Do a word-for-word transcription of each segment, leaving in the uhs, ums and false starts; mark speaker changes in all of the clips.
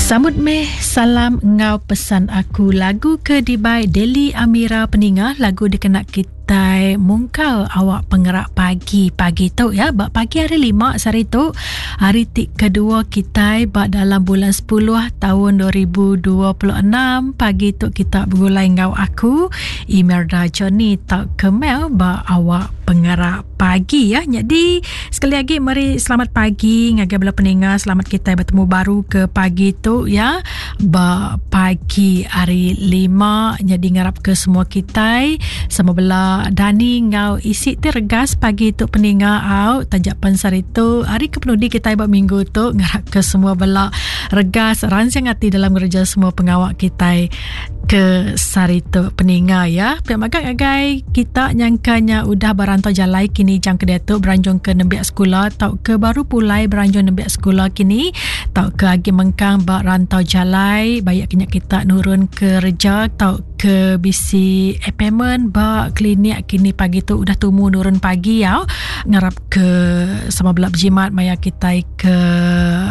Speaker 1: Sambut meh salam ngau pesan aku lagu ke dibai Deli Amira peninga lagu dikena kita mungkal awak pengerak pagi-pagi tu ya. Bak pagi hari lima sehari tu, hari ti kedua kita bak dalam bulan sepuluh tahun dua ribu dua puluh enam. Pagi tu kita bergulai ngau aku Imelda Johnny tak kemel bak awak pengerak pagi ya. Jadi sekali lagi mari selamat pagi ngagai bala peninga, selamat kita bertemu baru ke pagi tu ya. Ba pagi hari lima jadi ngarap ke semua kita sama bela Dani ngau isi ti regas pagi tu peninga au tajak pensar itu hari kepenudi kita ba minggu tu ngarap ke semua bela regas ransing hati dalam kerja semua pengawak kita ke sari tu peninga ya. Pihak magak agai kita nyangkanya udah barantau jalai kini jam ke diatu beranjung ke nembiak sekolah tau ke baru pulai beranjung nembiak sekolah kini tau ke agi mengkang ba rantau jalai bayak kena kita nurun ke reja tau ke bisi appointment ba klinik kini pagi tu udah tumu nurun pagi ya. Ngarap ke sama belak berjimat maya kita ke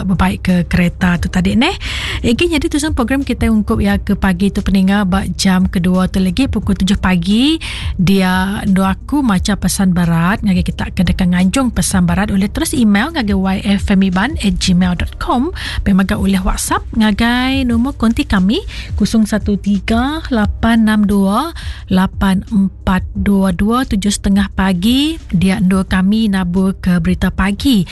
Speaker 1: berbaik ke kereta tu tadi neh. Egi jadi tujuan program kita ungkup ya ke pagi tu peninga ba jam kedua tu lagi pukul tujuh pagi dia doa aku maca pesan barat ngagai kita ke dekat nganjung pesan barat oleh terus email ngagai y f m iban at gmail dot com pemaga oleh WhatsApp ngagai nombor konti kami kosong satu tiga lapan enam dua lapan empat dua dua tujuh setengah pagi dia dua kami nabur ke berita pagi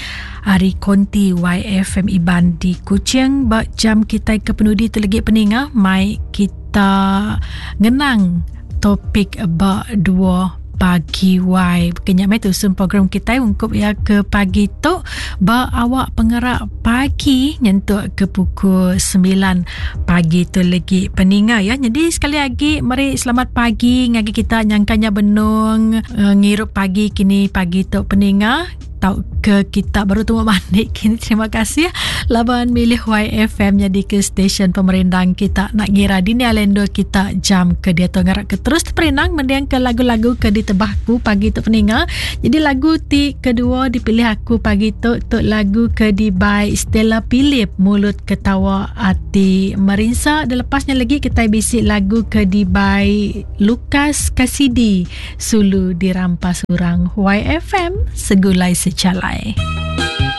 Speaker 1: hari konti Y F M Iban di Kuching ba jam kita ke penudi terlegi peninga mai kita ngenang topik ba dua pagi Y. Kenyak mai tu sun program kita ungkup ya ke pagi tu ba awak pengerak pagi nyentuk ke pukul sembilan pagi tu lagi peninga ya. Jadi sekali lagi mari selamat pagi ngagi kita nyangkanya benung uh, ngirup pagi kini pagi tu peninga tau ke kita baru tunggu mandi kini. Terima kasih laban milih Y F M jadi ke stesen pemerindang kita nak ngira dini alendo kita jam ke dia tu ngarak ke terus perindang mendiang ke lagu-lagu ke ditebahku pagi tu peninga. Jadi lagu ti kedua dipilih aku pagi tu tu lagu ke di by Stella Philip Mulut Ketawa Ati Merinsa. Dan lepasnya lagi kita bisik lagu ke di by Lucas Cassidy Sulu Dirampas Urang. Y F M segulai secalai.